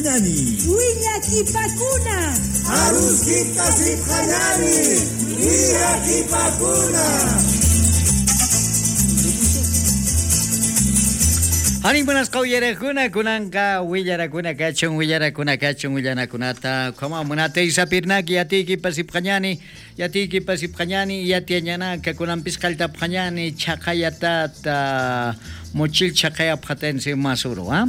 sipqañani. Willakipakuna. Aruskita sipqañani. Willakipakuna. Harin buenas qawyarakuna kunanqa willarakuna kachun willarakuna kachun willanakunata qhamamunata isapirnaki yatiykipa sipqañani yatiykipa sipqañani yatiañanaka kunanpis qalltapqañani chaqayatata mochil chaqayapqatense masuro, ¿ah?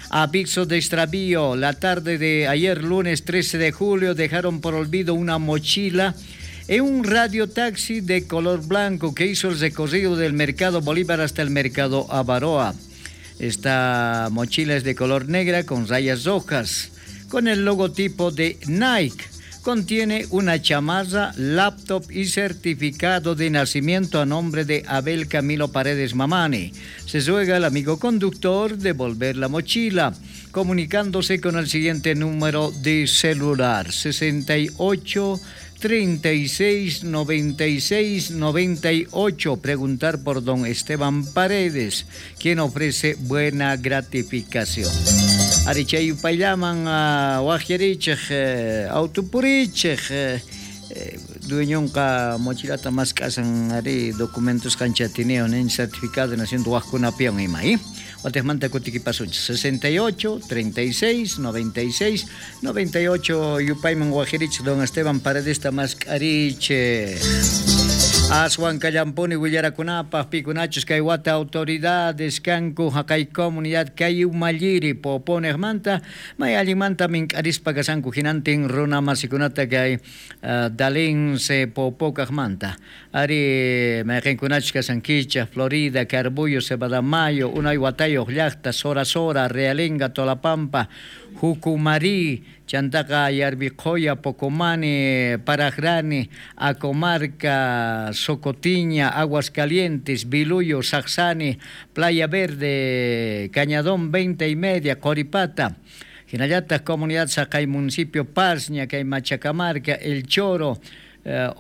Aviso de extravío, la tarde de ayer lunes 13 de julio dejaron por olvido una mochila en un radiotaxi de color blanco que hizo el recorrido del mercado Bolívar hasta el mercado Avaroa. Esta mochila es de color negra con rayas rojas, con el logotipo de Nike. Contiene una chamarra, laptop y certificado de nacimiento a nombre de Abel Camilo Paredes Mamani. Se ruega al amigo conductor devolver la mochila, comunicándose con el siguiente número de celular: 68 36 96 98. Preguntar por don Esteban Paredes, quien ofrece buena gratificación. Arichay upayllaman wajyarichej autopurichej dueñonqa mochilata mask'asan ari documentos kanchatineo nin certificado de nacimiento wajkunapiwan ima, ¿eh? Watejmanta kutikipasunchis 68 36 96 98 yupayman wajirichej don Esteban Paredes mask'arichej. Aswan kallampuni willarakunapaj pikunachus kay wata autoridades kanku haqay comunidad kay umalliri poponejmanta may allinmanta mink'arispa kasanku hinantin runa masikunata kay dalinse popokajmanta ari mayqinkunachus kasankichaj Florida, Carbullo, Cebadamayo, unay watayoj llaqta, Sora Sora, Realenga, Tolapampa, Jucumari, Chantaqa, Yarbiqoya, Pocomani, Parajrani, Acomarca, Socotiña, Aguas Calientes, Biluyo, Saxani, Playa Verde, Cañadón 20 y media, Coripata, Jinallata, Comunidad Sacay, Municipio Pazña, Kay Machacamarca, El Choro,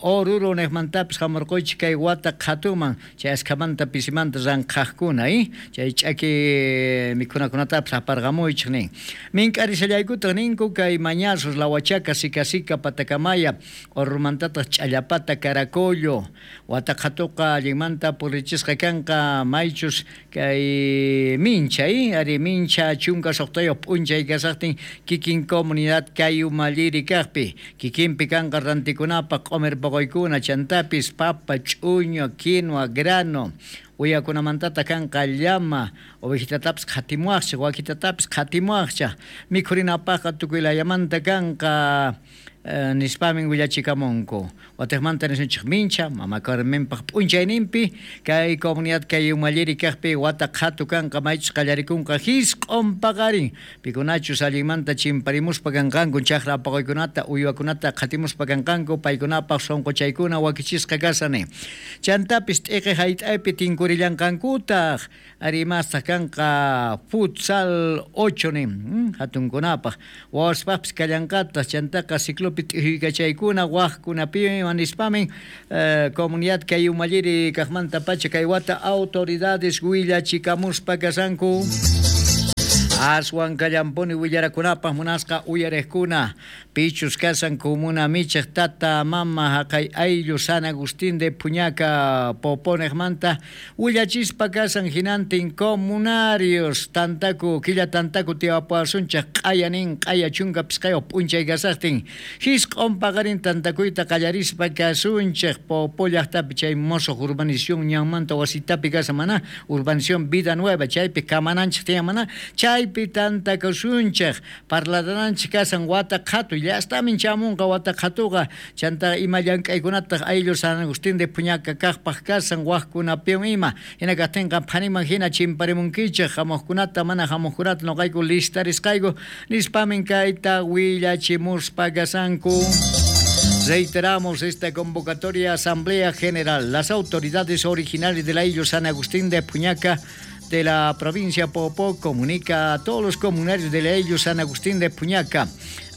Oruro nejmantapis hamurquychik kay wata qhatuman chay askhamanta pisimanta ranqhaqkuna, chay ch'aki mikhunakunatapis aparqamuychik nin. Mink'arishallaykutaq ninku kay Mañazos, La Huachaca, Sicasica, Patacamaya, Orurumantataq Ch'allapata, Caracollo. Wata qhatuqa allinmanta purichisqa kanqa maychus kay mincha, ari mincha chunka suqtayuq p'unchay kasaqtin kikin comunidad kay umalliri kaqpi kikinpi kanqa rantikunapaq q'umir poqoykuna chantapis papa, ch'uño, quinoa, grano uyakunamantata kanqa llama ovejitatapis qhatimuwaqchaq wakitatapis qhatimuwaqchaq mikhurinapaqqa tukuylayamanta kanqa nispamin willachikamunku. Watejmanta nisunchik mincha mama Carmenpaq p'unchayninpi kay comunidad kay umalliri kaqpi wata qhatu kanqa maychus qallarikunqa hisq'un paqarin pikunachus allinmanta chimparimuspa kanqanku chaqra apaquykunata uywakunata qhatimuspa kanqanku paykunapaq sunquchaykuna wakichisqa kasani. Chantapis t'iqi hayt'aypi tinkurillanqankutaq ari mastaq kanqa futsal 8 nin hatunkunapaq wawaspaqpis kallanqataq chantaqa ciclo t'ijuykachaykuna wajkunapi nispamin comunidad kay umalliri kaqmanta pacha kay wata autoridades willachikamuspa kasanku. Aswan kallampuni willarakunapaq munasqa uyarejkuna pichus kasan comuna michej tata mama haqay ayllu San Agustín de Puñaca poponejmanta willachispa kasan hinantin comunarios tantaku killa tantaku tiwapuasunchaj q'ayanin q'aya chunka pisqayuq p'unchay kasaqtin hisq'un paqarin tantakuyta qallarispa kasunchej Popo llaqtapi chay mosoq urbanización ñanmanta wasitapi kasan mana urbanización Vida Nueva chaypi kamananchej tiyan mana chay tantakusunchej parladananchik kasan wata qhatu llastamin chamunqa wata qhatuqa chanta ima llank'aykunataq ayllu San Agustín de Puñaca kaqpaq kasan wajkunapiwan ima hina kaqtinqa phaniman hina chimparimunkichej hamuqkunata mana hamuqkunata nuqayku listarisqayku nispamin kayta willachimuspa kasanku. Reiteramos esta convocatoria Asamblea General. Las autoridades originales del ayllu San Agustín de Puñaca de la provincia Popó comunica a todos los comunarios de la San Agustín de Puñaca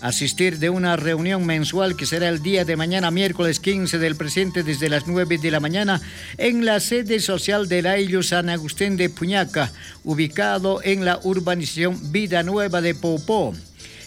asistir de una reunión mensual que será el día de mañana, miércoles 15 del presente, desde las 9 de la mañana, en la sede social de la San Agustín de Puñaca, ubicado en la urbanización Vida Nueva de Popó.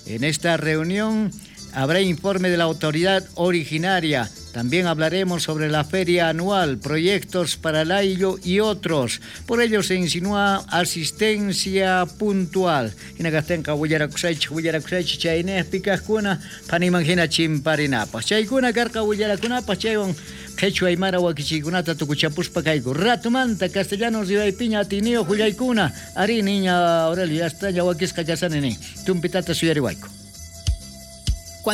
En esta reunión habrá informe de la autoridad originaria. También hablaremos sobre la feria anual, proyectos para el ayllu y otros. Por ello se insinúa asistencia puntual. Jina kajtenqa willarakusaychej, willarakusaychej chaynejpi kajkuna, phaniman jina chimparinapaj. Chaykuna karqa willarakunapaj, chaywan qhechua aymara wakichiykunata tukuchapuspa kayku. Ratumanta castellano rimaypiña atiyniyoj willaykuna. Arí, niña Aurelio, ya está, ña wakisqa kashani nin. Tumpitata suyariwayku.